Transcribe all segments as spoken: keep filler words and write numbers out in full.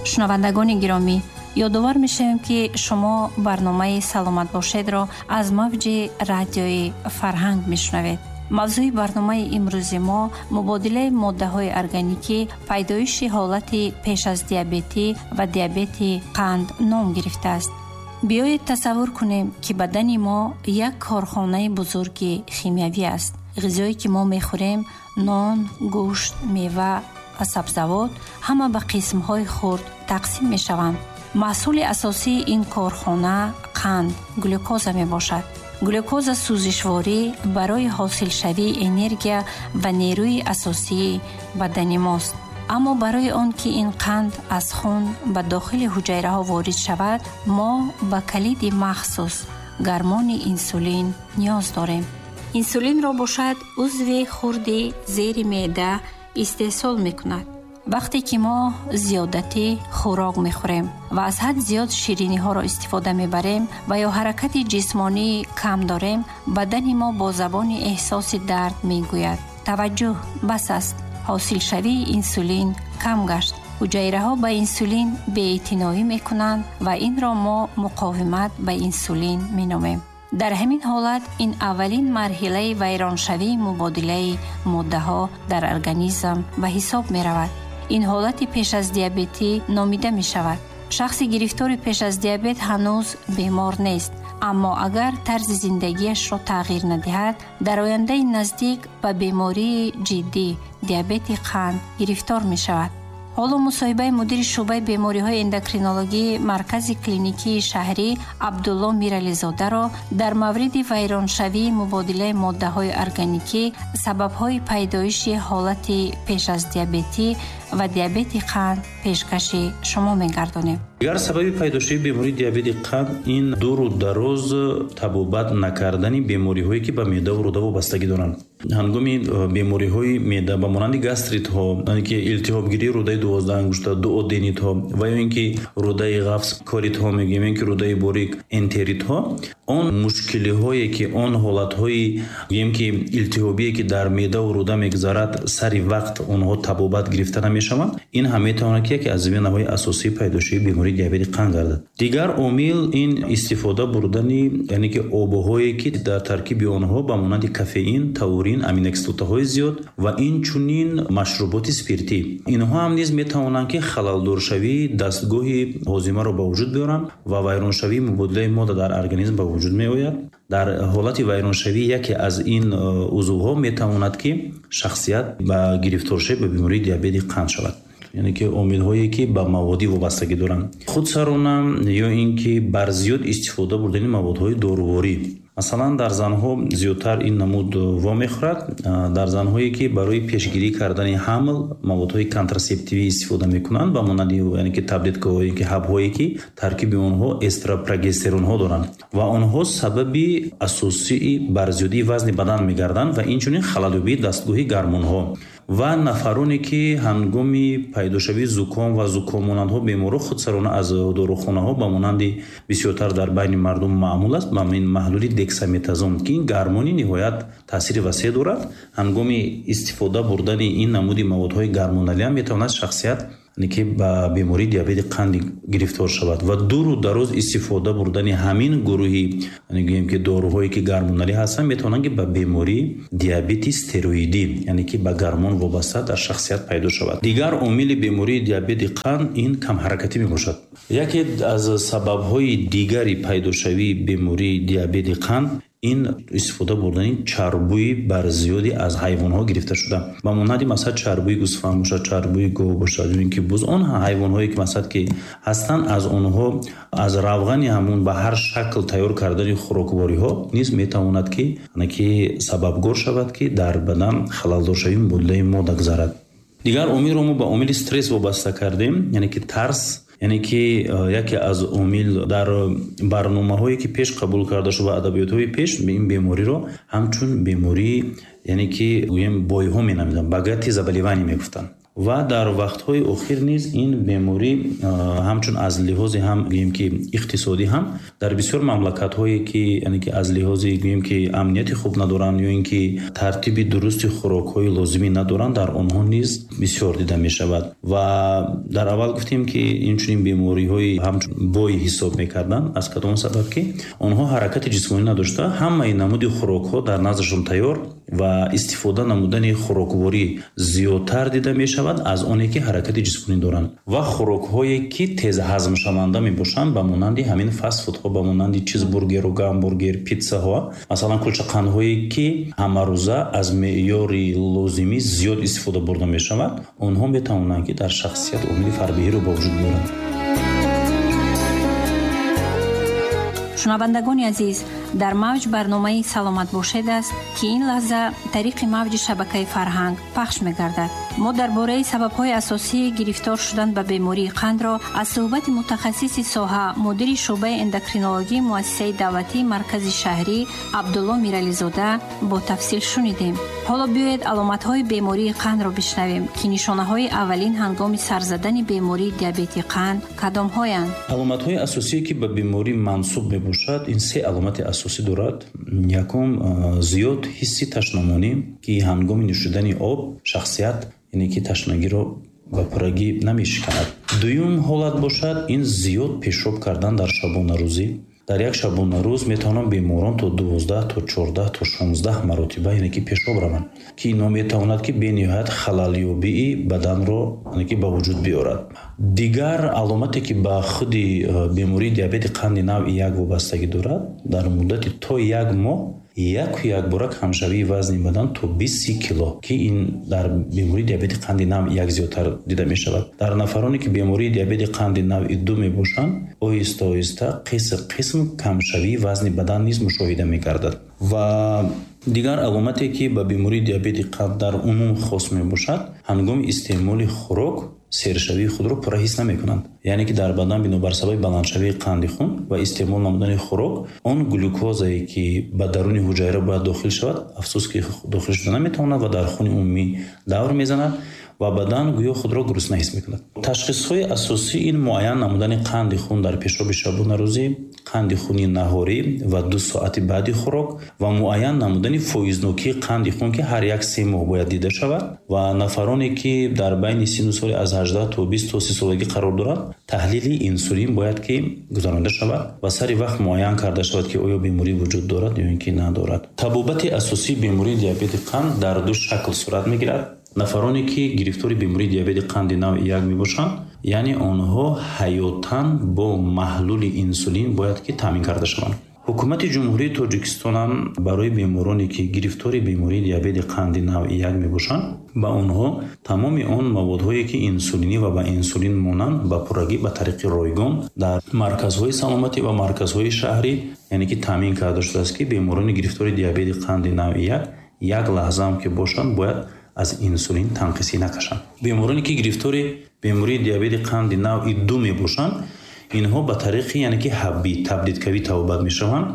Шунавандагони гиромӣ, ёдовар мешавем, ки шумо барномаи «Саломат бошед»-ро аз мавҷи радиои «Фарҳанг» мешунавед. Мавзӯи барномаи имрӯзи мо мубодилаи моддаҳои органикӣ, пайдоиши ҳолати пеш аз диабетӣ ва диабети қанд ном гирифтааст. Биёед тасаввур кунем, ки бадани мо як корхонаи бузурги химиявӣ аст. Ғизое ки мо мехӯрем, нон, гӯшт, мева ва сабзавот, ҳама ба қисмҳои хурд тақсим мешаванд. Маҳсули асосии ин корхона қанд, глюкоза мебошад. Глюкоза сӯзишворӣ барои ҳосилшавии энергия ва нерӯи асосии бадани мост. Аммо барои он ки ин қанд аз хун ба дохили ҳуҷайраҳо ворид шавад, мо ба калиди махсус, гармони инсулин, ниёз дорем. Инсулинро бошад узви хурди зери меъда истеҳсол мекунад. Вақте ки мо зиёдатӣ хӯрок мехӯрем ва аз ҳад зиёд шириниҳоро истифода мебарем ва ё ҳаракати ҷисмонӣ кам дорем, бадани мо бо забони эҳсоси дард мегӯяд: «Таваҷҷӯҳ, бас аст!» Ҳосилшавии инсулин кам гашт. Ҳуҷайраҳо ба инсулин беэътиноӣ мекунанд ва инро мо муқовимат ба инсулин меномем. Дар ҳамин ҳолат ин аввалин марҳилаи вайроншавии мубодилаи моддаҳо дар организм ба ҳисоб меравад. Ин ҳолати пеш аз диабетӣ номида мешавад. Шахси гирифтори пеш аз диабет ҳанӯз бемор нест, аммо агар тарзи зиндагиашро тағйир надиҳад, дар ояндаи наздик ба бемории ҷиддӣ, диабети қанд, гирифтор мешавад. Ҳоло мусоҳибаи мудири шӯъбаи бемориҳои эндокринологии Маркази клиникии шаҳрӣ Абдулло Мирализодаро дар мавриди вайроншавии мубодилаи моддаҳои органикӣ, сабабҳои пайдоиши ҳолати пеш аз диабетӣ ва диабети қанд пешкаши шумо мегардонем. Дигар сабаби пайдошавии бемории диабети қанд ин дуру дароз табобат накардани бемориҳое, ки ба меъдаву рӯда вобастагӣ доранд. Ҳангоми э, бемориҳои меъда ба монанди гастритҳо, яъне ки илтиҳобгирии рӯдаи дувоздаҳангушта, дуоденитҳо ва ё ин ки рӯдаи ғафс, колитҳо мегӯем, ин ки рӯдаи борик, энтеритҳо, он мушкилиҳое ки он ҳолатҳои, гӯем ки, илтиҳобие ки дар меъдаву рӯда мегузарад, сари вақт онҳо табобат гирифта намешаванд, ин ҳам метавонад ки яке аз заминаҳои асосии пайдошавии бемории диабети қанд гардад. Дигар омил ин истифода бурдани, яъне ки, обҳое, ки дар таркиби онҳо ба монанди кофеин, таурин, аминокислотаҳои зиёд ва инчунин машруботи спиртӣ. Инҳо ҳам низ метавонанд ки халалдоршавии дастгоҳи ҳозимаро ба вуҷуд биёранд ва вайроншавии мубодилаи модда дар организм ба вуҷуд меояд. Дар ҳолати вайроншавии яке аз ин э, узвҳо метавонад ки шахсият ба гирифторшавӣ ба бемории диабети қанд шавад. Яъне ки омилҳое, ки ба маводӣ вобастагӣ доранд, худсарона ё ин ки бар зиёд истифода бурдани маводҳои доруворӣ. Масалан, дар занҳо зиёдтар ин намуд вомехӯрад. Дар занҳое, ки барои пешгирӣ кардани ҳамл маводҳои контрасептивӣ истифода мекунанд, ба монанди, яъне ки, таблеткаҳое ки ҳабҳое ки таркиби онҳо эстропрогестеронҳо доранд ва онҳо сабаби асосии барзиёдии вазни бадан мегарданд ва инчунин халалёбии дастгоҳи гармонҳо. Ва нафароне, ки ҳангоми пайдошавии зуком ва зукоммонандҳо беморро худсарона аз дорухонаҳо, ба монанди бисёртар дар байни мардум маъмул аст, ба ин маҳлули дексаметазон, ки ин гармони ниҳоят таъсири васеъ дорад, ҳангоми истифода бурдани ин намуди маводҳои гармоналиам метавонад шахсият ки ба бемории диабети қанди гирифтор шавад. Ва дуру дароз истифода бурдани ҳамин гурӯҳи, гӯем ки, доруҳое ки гармоналӣ ҳастанд, метавонанд ки ба бемории диабети стероидӣ, яъне ки ба гармон вобаста, дар шахсият пайдо шавад. Дигар омили бемории диабети қанд ин камҳаракатӣ мебошад. Яке аз сабабҳои дигари пайдошавии бемории диабети қанд ин истифода бурдани чарбӯи барзиёди аз ҳайвонҳо гирифта шуда, ба монанди, масалан, чарбӯи гӯсфанд бошад, чарбӯи гов бошад ё ин ки буз. Он ҳайвонҳое ки, масалан, ки ҳастанд, аз онҳо, аз равғани ҳамун ба ҳар шакл тайёр кардани хӯроквориҳо низ метавонад ки ки сабабгор шавад, ки дар бадан халалдоршавии мубодилаи модда гузарад. Дигар омилро мо ба омили стресс вобаста кардем, яъне ки тарс, яъне ки э, яке аз омил дар барномаҳое ки пеш қабул карда шуд ва адабиётҳои пеш ин бемориро ҳамчун бемории, яъне ки, гӯем, бойҳо менамиданд, богатые заболевания мегуфтанд. Ва дар вақтҳои охир низ ин беморӣ ҳамчун аз лиҳози ҳам гӯем ки иқтисодӣ ҳам дар бисёр мамлакатҳое ки яъне ки аз лиҳози гӯем ки амнияти хуб надоранд ё ин ки тартиби дурусти хӯрокҳои лозимӣ надоранд, дар онҳо низ бисёр дида мешавад. Ва дар аввал гуфтем ки инчунин бемориҳои ҳамчун бой ҳисоб мекарданд, аз кадом сабаб ки онҳо ҳаракати ҷисмонӣ надошта, ҳамаи намуди хӯрокҳо дар наздашон тайёр ва истифода намудани хӯрокворӣ зиёдтар дида мешавад аз оне ки ҳаракати ҷисмонӣ доранд. Ва хӯрокҳое ки тез ҳазмшаванда мебошанд, ба монанди ҳамин фастфудҳо, ба монанди чизбургеру гамбургер, питсаҳо, масалан кулчақандҳое ки ҳамарӯза аз меъёри лозимӣ зиёд истифода бурда мешавад, онҳо метавонанд ки дар шахсият омили фарбеҳиро ба вуҷуд биёранд. Шунавандагони азиз, дар мавҷ барномаи «Саломат бошед» аст, ки ин лаҳза тариқи мавҷи шабакаи фарҳанг пахш мегардад. Мо дар бораи сабабҳои асосии гирифтор шудан ба бемории қандро аз суҳбати мутахассиси соҳа, мудири шӯъбаи эндокринологии муассисаи давлатии маркази шаҳрӣ Абдулло Мирализода бо тафсил шунидем. Ҳоло биёед аломатҳои бемории қандро бишнавем, ки нишонаҳои аввалин ҳангоми сар задани бемории диабети қанд кадомҳоянд. Аломатҳои асосие ки ба беморӣ мансуб мебошад, ин се аломати асосӣ дорад. Якум, зиёд ҳисси ташнамонӣ, ки ҳангоми нӯшидани об шахсият яъне ки ташнагиро ба пуррагӣ намешиканад. Дуюм ҳолат бошад, ин зиёд пешоб кардан дар шабонарӯзӣ. Дар як шабонарӯз метавонанд беморон то дувоздаҳ, то чордаҳ, то шонздаҳ маротиба яъне ки пешоб раванд, ки ино метавонад ки бениҳоят халалёбии баданро яъне ки ба вуҷуд биёрад. Дигар аломате ки ба худи бемории диабети қанди навъи як вобастагӣ дорад, дар муддати то як моҳ яку якбора камшавии вазни бадан то бист си кило, ки ин дар бемории диабети қанди навъи як зиёдтар дида мешавад. Дар нафароне ки бемории диабети қанди навъи ду мебошанд, оҳиста оҳиста қисм қисм камшавии вазни бадан низ мушоҳида мегардад. Ва дигар аломате ки ба бемории диабети қанд дар умум хос мебошад, ҳангоми истеъмоли хӯрок сершавии худро пурра ҳис намекунанд. Яъне ки дар бадан бинобар сабаби баландшавии қанди хун ва истеъмол намудани хӯрок, он глюкозае ки ба даруни ҳуҷайра бояд дохил шавад, афсӯс ки дохил шуда наметавонад ва дар хуни умумӣ давр мезанад ва бадан гӯё худро гурусна ҳис мекунад. Ташхисҳои асосӣ ин муайян намудани қанди хун дар пешоби шабонарӯзӣ, қанди хуни наҳорӣ ва ду соати баъди хӯрок ва муайян намудани фоизнокии қанди хун, ки ҳар як се моҳ бояд дида шавад. Ва нафароне ки дар байни сину соли аз ҳаждаҳ то бист то си солагӣ қарор доранд, таҳлили инсулин бояд ки гузаронида шавад ва сари вақт муайян карда шавад, ки оё беморӣ вуҷуд дорад ё ин ки надорад. Табобати асосии бемории диабети қанд дар ду шакл сурат мегирад. Нафароне ки гирифтори бемории диабети қанди навъи як мебошанд, яъне онҳо ҳаётан бо маҳлули инсулин бояд ки таъмин карда шаванд. Ҳукумати Ҷумҳурии Тоҷикистон ҳам барои бемороне ки гирифтори бемории диабети қанди навъи як мебошанд, ба онҳо тамоми он маводҳое ки инсулинӣ ва ба инсулин монанд ба пуррагӣ ба тариқи ройгон дар марказҳои саломатӣ ва марказҳои шаҳрӣ яъне ки таъмин карда шудааст, ки беморони гирифтори диабети қанди навъи як як лаҳзаам ки бошанд бояд аз инсулин танқисӣ накашанд. Бемороне ки гирифтори бемории диабети қанди навъи ду мебошанд, инҳо ба тариқи яъне ки ҳаббӣ таблеткавӣ табобат мешаванд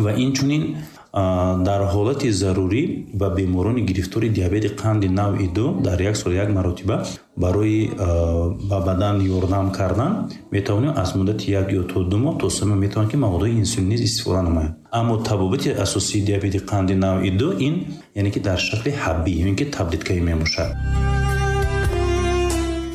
ва инчунин дар ҳолати зарурӣ ба беморони гирифтори диабети қанди навъи ду дар як сол як маротиба барои ба бадан ёрдам кардан метавонем аз муддати як ё то ду моҳ то се моҳ метавонем ки маводҳои инсулин низ истифода намоем. Аммо табобати асосии диабети қанди навъи ду ин яъне ки дар шакли ҳаббӣ ё ин ки таблеткавӣ мебошад.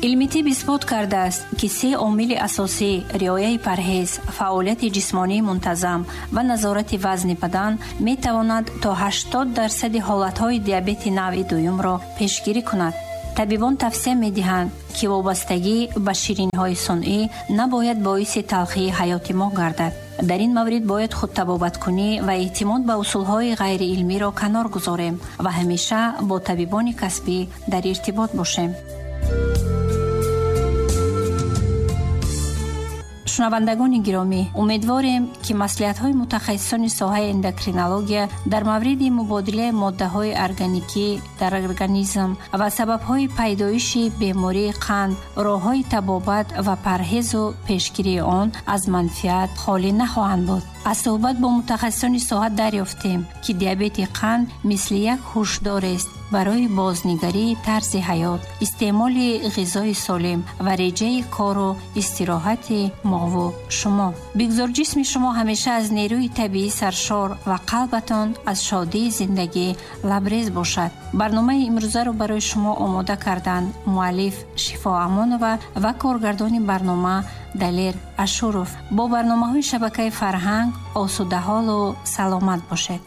Илми тиб исбот кардааст, ки се омили асосӣ риояи парҳез, фаъолияти ҷисмонии мунтазам ва назорати вазни бадан метавонад то ҳаштод дарсади ҳолатҳои диабети навъи дуюмро пешгирӣ кунад. Табибон тавсия медиҳанд, ки вобастагӣ ба ширинҳои сунъӣ набояд боиси талхии ҳаёти мо гардад. Дар ин маврид бояд худтабобаткунӣ ва эътимод ба усулҳои ғайриилмиро канор гузорем ва ҳамеша бо табибони касбӣ дар иртибот бошем. Шунавандагони гиромӣ, умедворем, ки маслиҳатҳои мутахассисони соҳаи эндокринология дар мавриди мубодилаи моддаҳои органикӣ дар организм ва сабабҳои пайдоиши бемории қанд, роҳҳои табобат ва парҳезу пешгирии он аз манфиат холӣ нахоҳанд буд. Аз суҳбат бо мутахассисони соҳа дарёфтем, ки диабети қанд мисли як ҳушдорест, барои бознигарии тарзи ҳаёт, истеъмоли ғизои солим ва реҷаи кору истироҳати мову шумо. Бигзор ҷисми шумо ҳамеша аз нерӯи табиӣ саршор ва қалбатон аз шодии зиндагӣ лабрез бошад. Барномаи имрӯзаро барои шумо омода карданд муаллиф Шифо Амонова ва коргардони барнома Далер Ашуров. Бо барномаҳои шабакаи фарҳанг осудаҳолу саломат бошед.